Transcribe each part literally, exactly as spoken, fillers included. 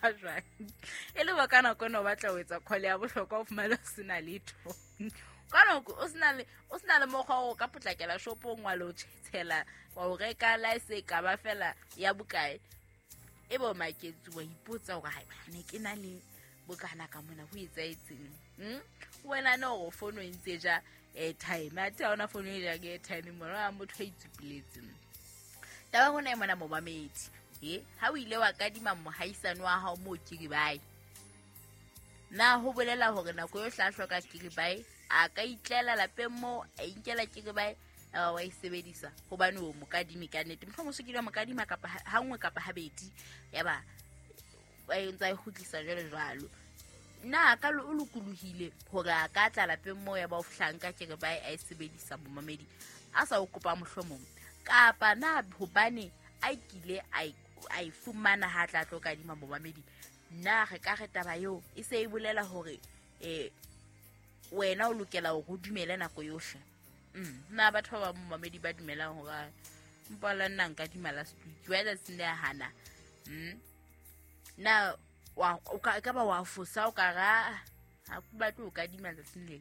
mokgwa jwang e le ka nako ena o batla ho etsa call ya bohlokwa o fumane o sena letho ka nako o sena le o sena le mokgwa o ka potlakela shopong wa lo tshela wa o reka la se ka ba fela ya bokae e bo maketsi wa ipotsa hore hai ne ke na le bokana ka mona ho etsaetseng hm wena no go fono e ntse ja airtime a tha ona fono e ja ke airtime mona wa motho a itsupiletseng taba hona e mona momamedi e ha o ile wa kadima mohaisane wa hao mo kiribae na ho bolela hore nako yo hla hloka kiribae a ka itlela lapeng mo a inkela kiribae a wa e sebedisa hobane o mokadimi ka nnete mohlomong se kile wa mokadima kapa ha nngwe kapa habedi yaba ba ntsa e kgutlisa jwalo jwalo na ka o lokolohile hore a ka tla lapeng mo ya ba o fihlanka kiribae a e sebedisa momamedi a sa o kopa mohlomong kapa na hobane a kile a a e fumana ha tla tlo kadima momamedi na re ka re taba eo e se e bolela hore eh wena o lokela hore o dumele nako yohle mm na batho ba momamedi ba dumelang hore mpola nna nka dima last week wa tsatsing le hana mm na wa o ka ka ba wa fosa o ka ra ha ku batle o kadima tsatsing le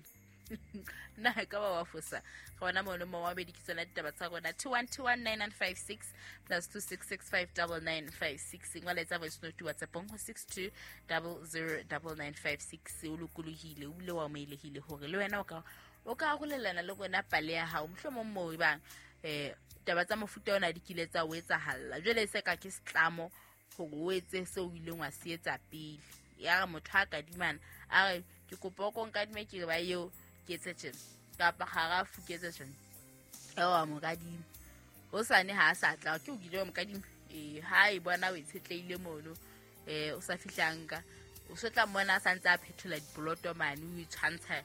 na ka ba wa fosa ga bona mo le momamedi ke tsona ditaba tsa rona two one two one nine nine five six plus two six six five nine nine five six ngwala etsa voice note WhatsApp ho six two zero zero nine nine five six o lokolohile o bile wa amohelehile hore le wena o ka o ka arolelana le rona pale ya hao mohlomong moo e bang eh taba tsa mofuta ona di kile tsa o etsahalla jwale se ka ke setlamo hore o etse seo o ileng wa se etsa pele ya re motho a kadimana a re ke kopa o ko nkadime ke re ba eo ke etse tjena kapa kgarafu ke etse tjena eo wa mokadima hosane ha a sa tla ke o kile wa mokadima ee ha e bona o itshetlehile mono eh o sa fihlanka o se tla mmona a santse a phethola dipoloto mane o itshwantsha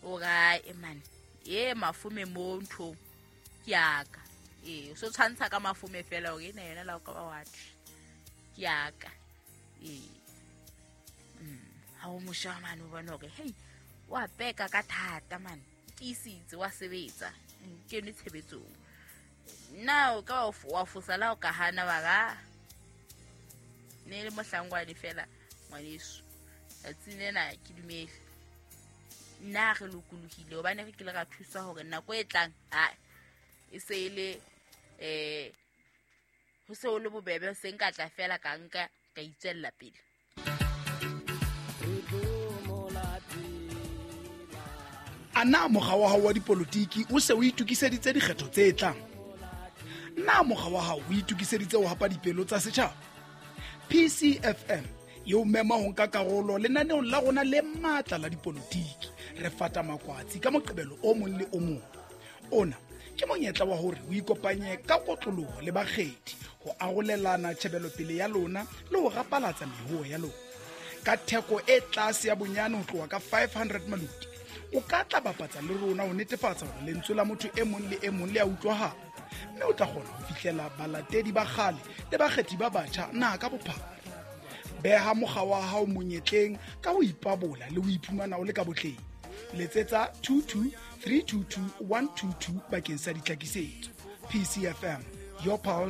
o ra e mane e mafome mo nthong ke yaka ee o so tshwantsha ka mafome fela hore ena yona la o ka ba wa thwe ke yaka ee ha o mosha mane o bona hore hei wa peka ka thata mane tiisitse wa sebetsa kene tshebetsong na o ka wa fosa la o ka hana wa ra ne le mohlangwane fela ngwaneso tsatsing lena ke dumele nna re lokolohile hobane re kile ra thuswa hore nako e tlang a e se e le eh ho se o le bobebe se nka tla fela ka nka ka itswella pele. A na mokga wa hao wa dipolotiki o se o itokiseditse dikgetho tse tlang? Na mokga wa hao o itokiseditse ho hapa dipelo tsa setjhaba? P C F M e o mema ho nka karolo lenaneong la rona le matla la dipolotiki. Re fata makwatsi ka Moqebelo o mong le o mong. Ona ke monyetla wa hore o ikopanye ka kotloloho le bakgethi ho arolelana tjhebelopele ya lona le ho rapalatsa mehoho ya lona. Ka theko e tlase ya bonyane ho tloha ka five hundred maluti, o ka tla bapatsa le rona ho netefatsa hore lentswe la motho e mong le e mong le a utlwahala, mme o tla kgona ho fihlela balatedi ba kgale le bakgethi ba batjha naha ka bophara. Beha mokga wa hao monyetleng ka ho ipabola le ho iphumana o le ka botleng. Letsetsa two two three two two one two two bakeng sa ditlhakisetso. P C F M, your pulse.